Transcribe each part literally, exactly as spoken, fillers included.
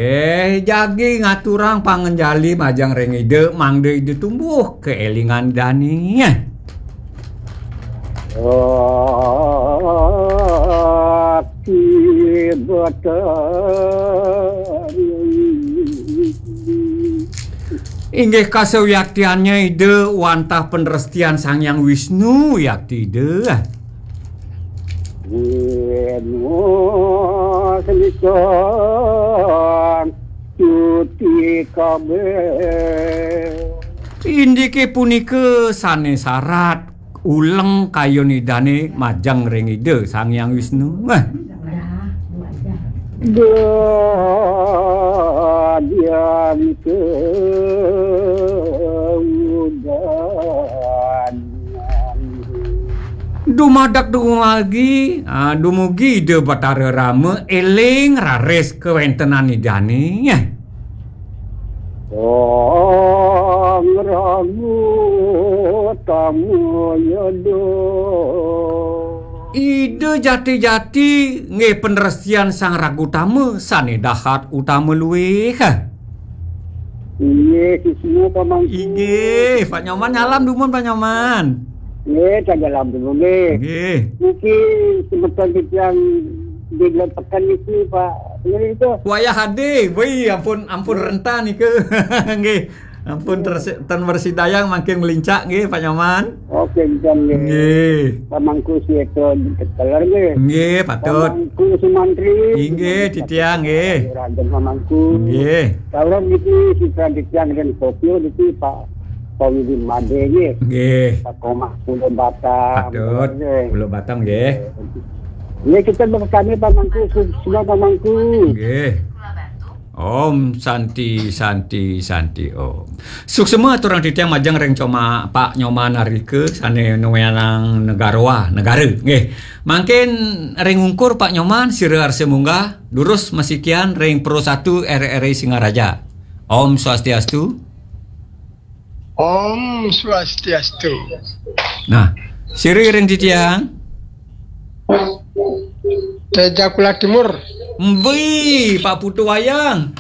Eh, jagi ngaturang pangenjali majeng ring Ida, mangda Ida tumbuh kaélingan dané. Ati Betari. Inggih kasawiyaktiannya Ida wantah panrestian Sang Hyang Wisnu, yakti Ida. Wisnu senika cuti kabéh. Indiké punika sané sarat uleng kayun Idané majeng ring Ida Sang Hyang Wisnu. Wah. Dadian keudan. Dumadak dumugi, ah, dumugi Ida Batara Rama éling raris kawéntenan Idané. Sang Ragu Tama Yada. Ida jati-jati nggih panrestian Sang Ragutama sané dahat utama luih. Inggih, sisina Pak Mangku. Inggih, Pak Nyoman nyalam dumun, Pak Nyoman. Nggih, tak nyalam dumun nggih. Nggih. Niki semeton titiang di Glen Peken niki, Pak. Nggih, itu. Wayah ade, wih, ampun, ampun renta nika. Nggih. Ampun tersi-, ten bersidayang mangkin melincak nggih, Pak Nyoman. Oke, nggih. Nggih. Pak Mangku sih itu keteler nggih. Nggih, patut. Pak Mangku Sumantri. Inggih, titiang nggih. Raden Pak Mangku. Nggih. Kalau niki sisrah titiang dan Tokyo niki Pak Komidi Made nggih. Nggih. Pak Komah Pulau Batam. Patut. Nggih. Pulau Batam nggih. Nggih, kita berkami Pak Mangku, semua Pak Mangku. Nggih. Om Santi, Santi, Santi Om. Suksma aturang titiang majeng ring Coma Pak Nyoman Arika sané nuénang negara, negara. Nggih. Mangkin ring ungkur Pak Nyoman sira arsa munggah durus masikian ring Pro satu R R I Singaraja. Om Swastiastu. Om Swastiastu. Nah, sira ring titiang. Teja Kula Timur. Mwi, Pak Putu Wayang.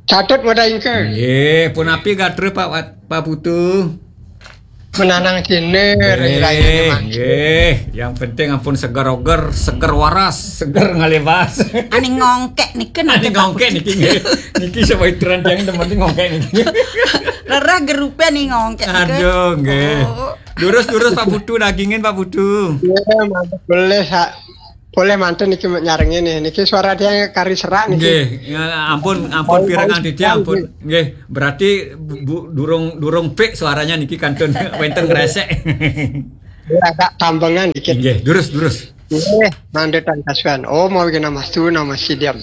Catut wada ingke. Nggih, punapi gatra Pak Wat-, Pak Putu? Menanang kene, rai-rai. Nggih, nggih. Yang penting ampun seger oger, seger waras, seger ngalebas. Ane ngongkek niki. Ane nate ngongkek niki nggih. Niki sapa iteran tiang demen ngongkek niki. Rereh gerupe ane ngongkek niki. Aduh, nggih. Oh. Durus-durus Pak Putu, dagingin Pak Putu. Iya, mantap. Boleh, Sa-, boleh mantun niki nyarengin nih. Niki suara tiang kari serak niki. Nggih, ya, ampun, ampun. Oh, pirengang titiang, ampun. Nggih, berarti bu-, durung, durung pik suaranya niki kantun wenten ngresek. Ya, agak tambengan dikit. Nggih, durus, durus. Nggih, mantun kasuan. Om Awighnamastu Namo Sidham.